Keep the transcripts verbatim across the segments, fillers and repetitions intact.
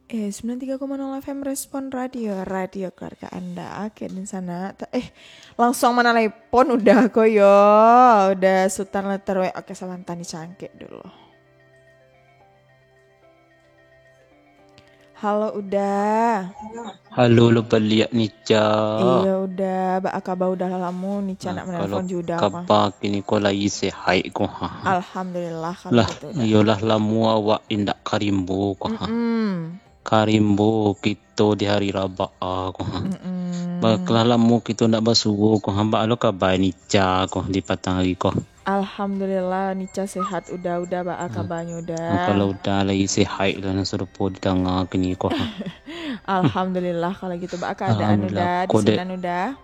Eh, sembilan tiga koma nol F M Respon Radio, radio keluarga Anda. Oke, di sana. Ta- Eh, langsung manalepon udah ko yo. Udah Sultan Letter W. Oke, salam tani cangkik dulu. Halo, Uda. Halo, lo baliak, Nica. Iyo, Uda. Baa kaba, Uda? Lah lamo Nica nak manelpon jo Uda, kaba kini ko lai sehat ko, ha? Alhamdulillah, kalau gitu, Uda. Iyolah, lamo awak indak ka rimbo ko, ha. Mm-mm. Ka rimbo kito di hari Rabaa ko, ha. Mm-mm. Ba-, lah lamo kito ndak basuo ko, ha. Baa lo kaba Nica ko di patang hari ko? Alhamdulillah, Nica sehat, Uda. Uda, baa kabanyo, Uda? Kalau Uda lai sehat lah, nan sarupo didanga kini ko, ha. Alhamdulillah, kalau gitu. Baa keadaan Uda di sinan, Uda?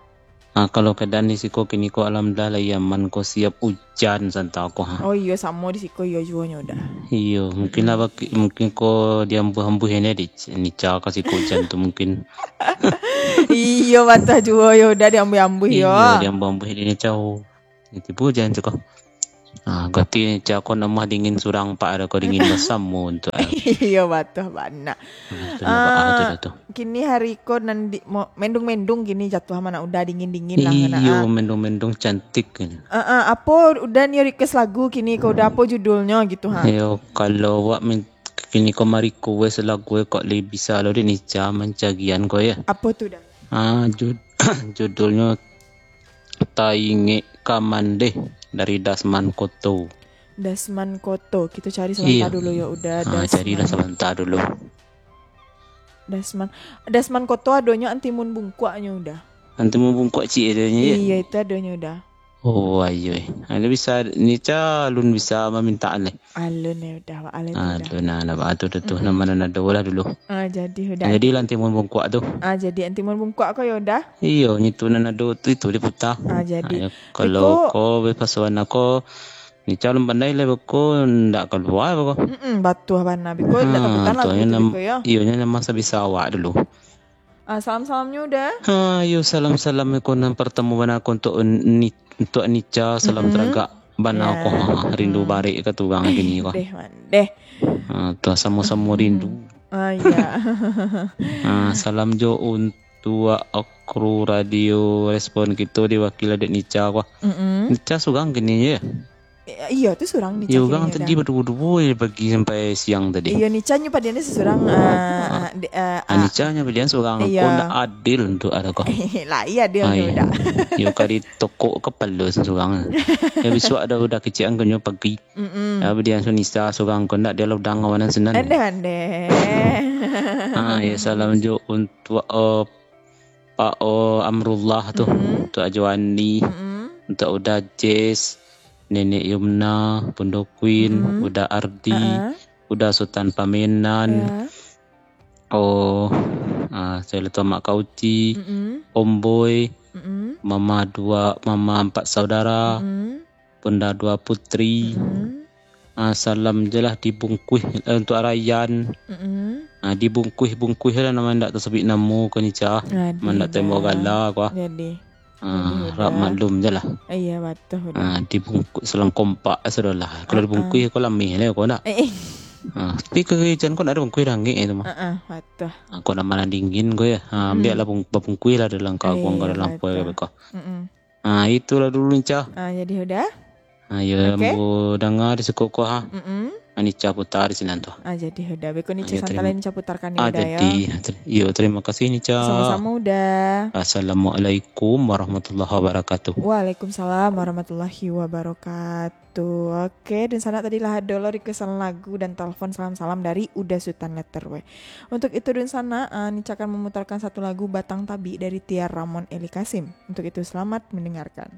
Ah, kalau keadaan di siko kini ko, alhamdulillah, lai aman ko, siap ujan santa ko, ha. Oh iyo, samo di siko iyo juo nyo, Uda. Iyo, mungkin lah baki-, mungkin ko diambuih-ambuih ini di Nica ka siko ujan tu mungkin. Iyo, batuah juo yo, Uda, diambuih-ambuih yo. Iyo, diambuih-ambuih di Nica. Tibo ujan tu ko. Ah, berarti Nica ko nan mah dingin surang, pak, ado ko dingin basamo tu, ah. Iyo, batuah bana. Ah, tu lah, ah, tu lah tu. Kini hari ko nan di-, mo-, mendung-mendung kini jatuah, mana Uda dingin-dingin lah, iyo, ah. Mendung-mendung cantik kini. Ah, ah, apo Uda nio request lagu kini ko, Uda, apo judulnyo gitu, ha? Iyo, kalau awak min-, kini ko ma-request lagu, eh, kok lai bisa lo dek Nica mancarian ko, yo. Apo tu, Uda? Ah, jud-, judulnyo Taingek Ka Mandeh dari Dasman Koto. Dasman Koto. Kito cari sabanta dulu yo, Uda. Ah, carilah sabanta dulu. Dasman. Dasman Koto adonyo Antimun Bungkuaknyo, Uda. Antimun Bungkuak ciek adonyo, yo? Iyo, itu adonyo, Uda. Oh, iyo. Ado bisa, Nica alun bisa mamintaan lai. Alun yo, Uda, wak alun tu, Uda. Alun, nah, nah, tu, tu, tu, nama nan ado lah dulu. Ah, jadi, Uda. Jadi lah Antimun Bungkuak tu. Ah, jadi Antimun Bungkuak ko yo, Uda? Iyo, nyo tu nan ado tu, itu diputa. Ah, jadi. Ah, yo, kalau ko bepasuan ko, Nica alun pandai lai beko, ndak kalua beko. Mm-mm, batuah bana. Beko ndak takutan lagu tu, beko yo. Iyo, nyo nan masa bisa awak dulu. Ah, salam-salamnyo, Uda. Ah, iyo, salam-salam ko nan partamo bana ko untuk ni-, untuk Nica, salam taragak bana ko. Ha, rindu barek ka tu urang kini ko. Deh, mandeh. Ah, tu samo-samo rindu. Ah, iya. Ah, salam jo untuk kru radio Respon kito diwakili dek Nica ko. Mm-mm. Nica surang kini yo? Eh, iyo, tu surang Nica. Iyo, urang tadi baduo-duo je pagi sampai siang tadi. Iyo, Nica nyo padian surang, ah, ah, di, ah, ah, Nica nyo padian surang. Iyo. Ko ndak adil tu ado ko. Lah, iyo, adil tu dak. Iyo, ka ditokok kapalo surang. Yo, bisuak ado Uda kecek angkonyo pagi. Mm-mm. Yo, padian Nica surang ko ndak, dia lah Uda ngawan sinan. Andeh, andeh. Ah, yo, salam jo untuk, eh, Pak, oh, Amrullah tu, mm-mm, untuk Ajo Ani, mm-mm, untuk Uda Jess, Nenek Yumna, Bundo Queen, mm-mm, Uda Ardi, uh-uh, Uda Sultan Pamenan, ya, oh, ah, saya lupa Mak Kauci, mm-mm, Om Boy, mm-mm, Mama Dua, Mama Empat Saudara, mm-mm, Bunda Dua Putri. Mm-mm. Ah, salam je lah dibungkuih, eh, untuk Arayan. Mm-mm. Ah, dibungkuih-bungkuih lah, nama ndak tasabuik namo ko Nica. Aduh, mandak tembok gala ko. Jadi. Ah, jadi, harap Uda maklum je lah. Iya, betul, Uda. Ah, dibungkuih salam kompak, eh, sudah lah. Kalau, ah, ah, dibungkuih ko lameh lah ko ndak. Eh, eh. Ah, tapi ka Arayan ko ndak ado bungkuih dangik itu mah. Ah, ah, betul. Ah, ko nama nan dingin ko yo. Ah, hmm, ambiak lah bung-, babungkuih lah dalam kawang, iya, ko dalam, betul, kuai ko. Mm-mm. Ah, itulah dulu, Nica. Ah, jadi Uda? Ah, yo, oke. Ambo danga di siko ko, ha. Mm-mm. Ah, Nica putar di sinan tu. Ah, jadi Uda. Beko Nica, iyo, santai, terima, Nica putarkan, ah, Uda, yo. Jadi, ter-, iyo, terima kasih, Nica. Sama-sama, Uda. Assalamualaikum warahmatullahi wabarakatuh. Waalaikumsalam warahmatullahi wabarakatuh. Oke, dunsanak, tadi lah ado lo requestan lagu dan telepon salam-salam dari Uda Sultan Letter W. Untuk itu, dunsanak, ah, Nica akan memutarkan satu lagu, Batang Tabik dari Tiar Ramon Eli Kasim. Untuk itu, selamat mendengarkan.